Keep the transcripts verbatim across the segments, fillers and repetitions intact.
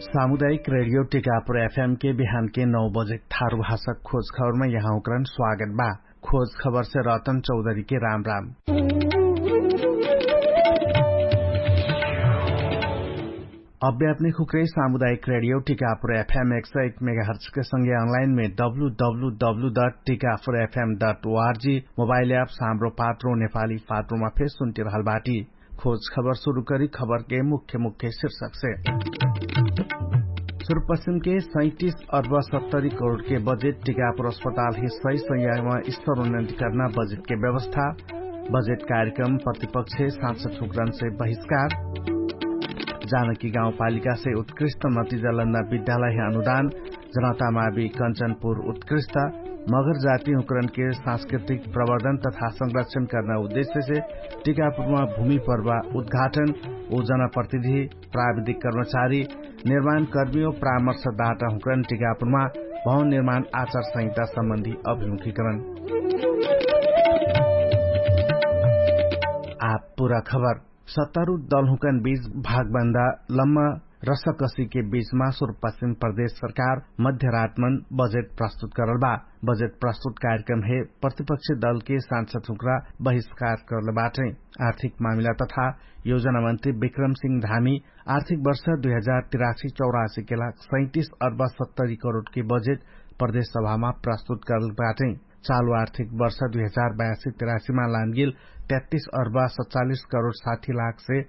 सामुदायिक रेडियो टिकापुर एफएम के बिहान के नौ बजे थारु भाषा खोज खबरमा यहाँ उकरन स्वागत बा। खोज खबर से रतन चौधरी के राम राम। अभ्यापनिक हुक्रे सामुदायिक रेडियो टिकापुर एफएम एक सौ एक मेगाहर्च के संगे अनलाइन में W W W dot Tikapur FM dot ORG mobile app Hamro Patro Nepali पात्रोमा फेर सुन्ति रहल बाटी। खोज खबर सुरु करी खबर के मुख्य मुख्य शीर्षक से। सुरपश्चिम के सैतिस अर्ब सत्तरी करोड के बजेट टिकापुर अस्पताल ही सही संयामा स्तर उन्नति कर्ना बजेट के व्यवस्था। बजेट कार्यक्रम प्रतिपक्ष साँच ठुक्रन से बहिष्कार। जानकी गाउँपालिका से उत्कृष्ट नतिजा लन्ना विद्यालय अनुदान। जनतामावी कञ्चनपुर उत्कृष्ट। मगर जाति हुक्रन के सांस्कृतिक प्रवर्धन तथा संरक्षण कर्ना उद्देश्य से टिकापुरमा भूमि पर्वा उद्घाटन। उ जनप्रतिनिधि प्राविधिक कर्मचारी निर्माणकर्मी व परामर्शदाता हुक्रन टिकापुरमा भवन निर्माण आचार संहिता सम्बन्धी अभिमुखीकरण। आप पुरा खबर। सत्तारु दलहुँकन बीच भागबन्दा लम्मा रसकसीके बीचमा सुरपश्चिम प्रदेश सरकार मध्यरातमन बजेट प्रस्तुत करल बा। बजेट प्रस्तुत कार्यक्रम हे प्रतिपक्ष दलके सांसद हुँक्रा बहिष्कार करल बाटै। आर्थिक मामिला तथा योजना मन्त्री विक्रम सिंह धामी आर्थिक वर्ष दुई हजार तिरासी चौरासीके लाग सैतिस अर्ब सत्तरी करोडके बजेट प्रदेश सभामा प्रस्तुत करल बाटै। चालु आर्थिक वर्ष दुई हजार बयासी तिरासीमा लानगेल तेत्तिस अर्ब सचालिस करोड साठी लाखसे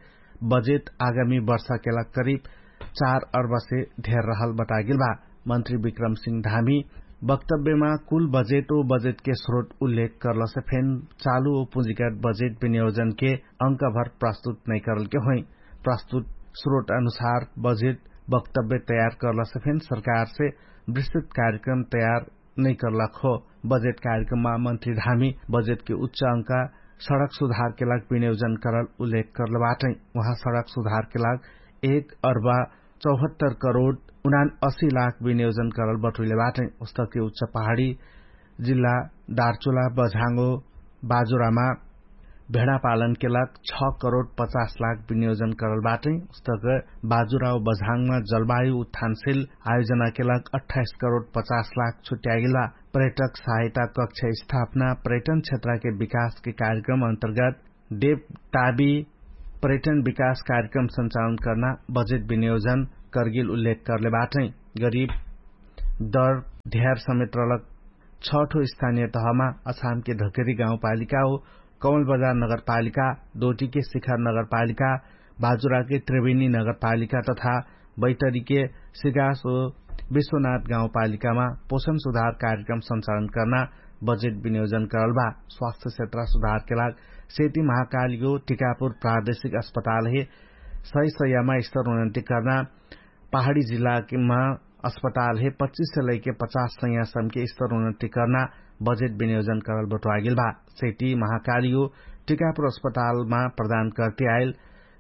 बजेट आगामी वर्षाके लाग करिब चार अर्बसे धेर रहल बतागेल बा। मन्त्री विक्रम सिंह धामी वक्तव्यमा कुल बजेट ओ बजेटके स्रोत उल्लेख करलसे फेन चालु ओ पुँजीगत बजेट विनियोजनके अंकभर प्रस्तुत नैकरलके होइ। प्रस्तुत स्रोत अनुसार बजेट वक्तव्य तयार करलसे फेन सरकारसे विस्तृत कार्यक्रम तयार नैकरलक हो। बजेट कार्यक्रममा मन्त्री धामी बजेटके उच्च अंका सडक सुधारके लाग विनियोजन करल उल्लेख करल बाटै। उहाँ सडक सुधारके लाग एक अर्बा चौहत्तर करोड उनान असी लाख विनियोजन करल बटुइले बाटै। उस्तके उच्च पहाडी जिल्ला दार्चुला बझाङ्गो बाजुरामा भेडापालनके लाग छ करोड पचास लाख विनियोजन करल बाटै। उस्तक बाजुराउ बझाङ्गमा जलवायु उत्थानशिल आयोजनाके लाग अट्ठाइस करोड पचास लाख छुट्यागेल बा। पर्यटक सहायता कक्ष स्थापना पर्यटन क्षेत्रके विकासके कार्यक्रम अन्तर्गत डेप टाबी पर्यटन विकास कार्यक्रम सञ्चालन कर्ना बजेट विनियोजन करगेल उल्लेख करले बाटै। गरिब दर ध्यार समेत रलक छठो स्थानिय तहमा अछामके धकेरी गाउँपालिका हो कमल बजार नगरपालिका, दोटीके शिखर नगरपालिका, बाजुराके त्रिवेणी नगरपालिका तथा बैतरीके सिगास ओ विश्वनाथ गाउँपालिकामा पोषण सुधार कार्यक्रम सञ्चालन कर्ना बजेट विनियोजन करल बा। स्वास्थ्य क्षेत्र सुधारके लाग सेती महाकालिगो टिकापुर प्रादेशिक अस्पताल हे सही सयामा स्तर उन्नति कर्ना पहाडी जिल्लामा अस्पताल हे पच्चिस से लैके पचास सयासमके स्तर उन्नति कर्ना बजेट विनियोजन करल बटुवागेल बा। सेती महाकालिगो टिकापुर अस्पतालमा प्रदान करते आइल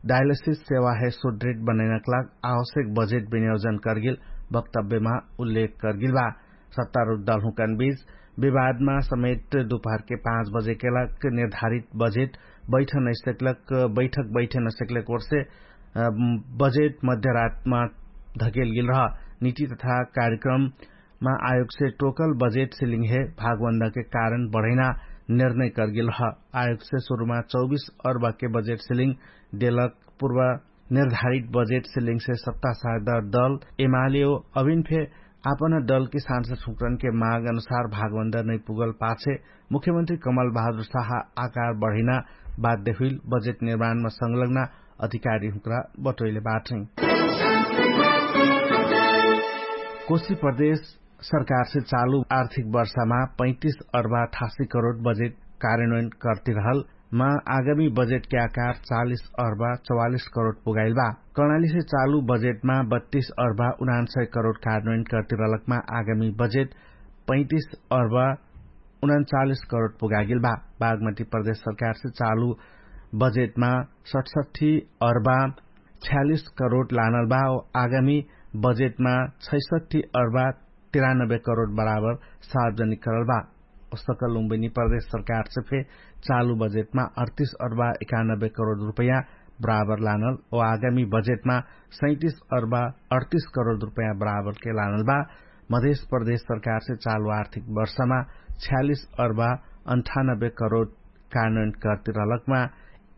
डायलिसिस सेवा हे सुदृढ बनैनक लाग आवश्यक बजेट विनियोजन करगेल वक्तव्यमा उल्लेख करगेल बा। सत्तारुद्ध दलहुँकन बीच विवादमा समेत दुपहरके पाँच बजेके लाग निर्धारित बजेट बैठक नैसकलक बैठक बैठक नैसकलक ओर्से बजेट मध्यरातमा धकेलगेल रह। निति तथा कार्यक्रम मा आयोगसे टोकल बजेट सिलिङ हे भागबन्दाके कारण बढैना निर्णय करगेल ह। आयोगसे सुरुमा चौबिस अर्बाके बजेट सिलिङ देलक पूर्व निर्धारित बजेट सिलिङसे सत्ता साझदार दल एमालेओ अभिन फे आपन दलके सांसद हुक्रनके माग अनुसार भागबन्दा नैपुगल पाछे मुख्यमन्त्री कमल बहादुर साहा आकार बढैना बाध्य हुइल बजेट निर्माणमा संलग्ना अधिकारी हुक्रा बटोइले बाटै। कोशी प्रदेश सरकारसे चालु आर्थिक वर्षमा पैतिस अर्बा अठासी करोड बजेट कार्यन्वयन कर्तिरहल मा आगामी बजेटके आकार चालिस अर्बा चौवालिस करोड पुगाइल बा। कर्णालीसे चालु बजेटमा बत्तिस अर्बा उनान्सय करोड कार्यन्वयन कर्तिरहलकमा आगामी बजेट पैतिस अर्बा उनान्चालिस करोड पुगागेल बा। बागमती प्रदेश सरकारसे चालु बजेटमा सठसठी अर्बा छ्यालिस करोड लानल बा। आगामी बजेटमा छैसठी अर्बा तिरानब्बे करोड बराबर सार्वजनिक करल बा। ओस्तक लुम्बिनी प्रदेश सरकारसे फे चालु बजेटमा अडतिस अर्बा एकानब्बे करोड रुपैया बराबर लानल ओ आगामी बजेटमा सैतिस अर्बा अडतिस करोड रुपैयाँ बराबरके लानल बा। मधेश प्रदेश सरकारसे चालु आर्थिक वर्षमा छ्यालिस अर्बा अन्ठानब्बे करोड कानून कर्तिरहलकमा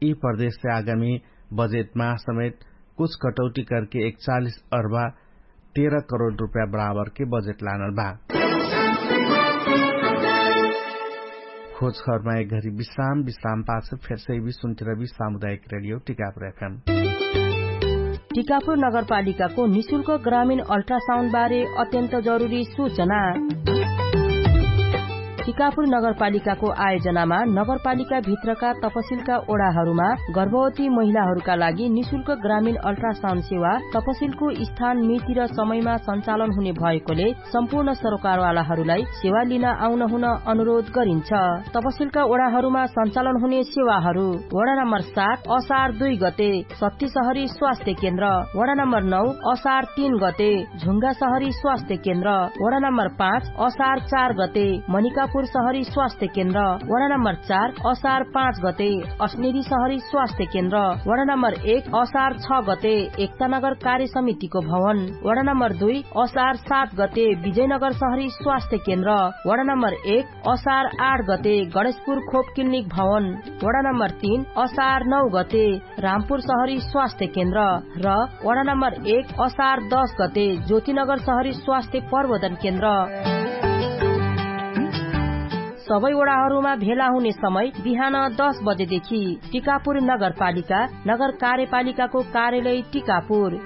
यि प्रदेशसे आगामी बजेटमा समेत कुछ कटौटी करके एकचालिस अर्बा तेह्र करोड रुपैयाँ बराबरके बजेट लानल बा। खोजखबरमा एक घरी विश्राम विश्राम पाछ फेरसे यि सुन्तिरबी सामुदायिक रेडियो टिकापुर एफएम। टिकापुर नगरपालिकाको निशुल्क ग्रामीण अल्ट्रासाउन्ड बारे अत्यन्त जरुरी सूचना। टिकापुर नगरपालिकाको आयोजनामा नगरपालिकाभित्रका तपसिलका ओडाहरूमा गर्भवती महिलाहरूका लागि निशुल्क ग्रामीण अल्ट्रासाउन्ड सेवा तपसिलको स्थान मिति र समयमा सञ्चालन हुने भएकोले सम्पूर्ण सरोकारवालाहरूलाई सेवा लिन आउन हुन अनुरोध गरिन्छ। तपसिलका ओडाहरूमा सञ्चालन हुने सेवाहरू वडा नम्बर सात असार दुई गते सत्ती सहरी स्वास्थ्य केन्द्र, वडा नम्बर नौ असार तीन गते झुङ्गा सहरी स्वास्थ्य केन्द्र, वडा नम्बर पाँच असार चार गते मनिकापुर सहरी स्वास्थ्य केन्द्र, वडा नम्बर चार असार पाँच गते अस्नेरी सहरी स्वास्थ्य केन्द्र, वडा नम्बर एक असार छ गते एकतानगर कार्य समितिको भवन, वडा नम्बर दुई असार सात गते विजयनगर सहरी स्वास्थ्य केन्द्र, वडा नम्बर एक असार आठ गते गणेशपुर खोप क्लिनिक भवन, वडा नम्बर तीन असार नौ गते रामपुर सहरी स्वास्थ्य केन्द्र र वडा नम्बर एक असार दस गते ज्योतिनगर सहरी स्वास्थ्य प्रबोधन केन्द्र। सबै वडाहरूमा भेला हुने समय बिहान दस बजेदेखि। टिकापुर नगरपालिका, नगर कार्यपालिकाको कार्यालय टिकापुर।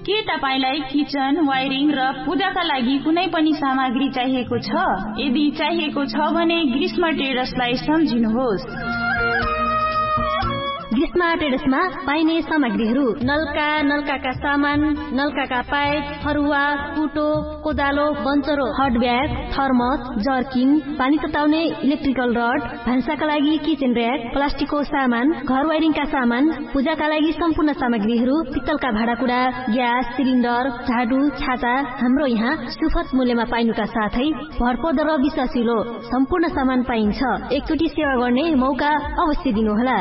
के तपाईंलाई किचन वायरिङ र पूजाका लागि कुनै पनि सामग्री चाहिएको छ? यदि चाहिएको छ भने ग्रीष्म ट्रेडर्सलाई सम्झिनुहोस्। ग्रीष्म ट्रेडर्समा पाइने सामग्रीहरू नल्का, नल्काका सामान, नल्काका पाइप, फरुवा, कुटो, कोदालो, बन्चरो, हटब्याग, थर्मस, जर्किङ, पानी तताउने इलेक्ट्रिकल रड, भान्साका लागि किचेन र्याक, प्लास्टिकको सामान, घर वायरिङका सामान, पूजाका लागि सम्पूर्ण सामग्रीहरू, पित्तलका भाँडाकुडा, ग्यास सिलिन्डर, झाडु, छाता, हाम्रो यहाँ सुफत मूल्यमा पाइनुका साथै भरपर्दो र विश्वासिलो सम्पूर्ण सामान पाइन्छ। एकचोटि सेवा गर्ने मौका अवश्य दिनुहोला।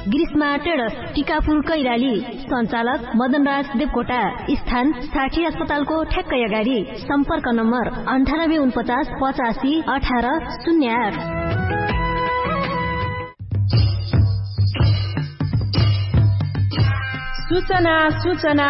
ग्रीष्मा ट्रेडर्स, टिकापुर कैराली। सञ्चालक मदनराज देवकोटा। स्थान साठी अस्पतालको ठ्याक्कै अगाडि। सम्पर्क नम्बर अन्ठानब्बे उनपचास पचासी अठार शून्य आठ। सूचना सूचना।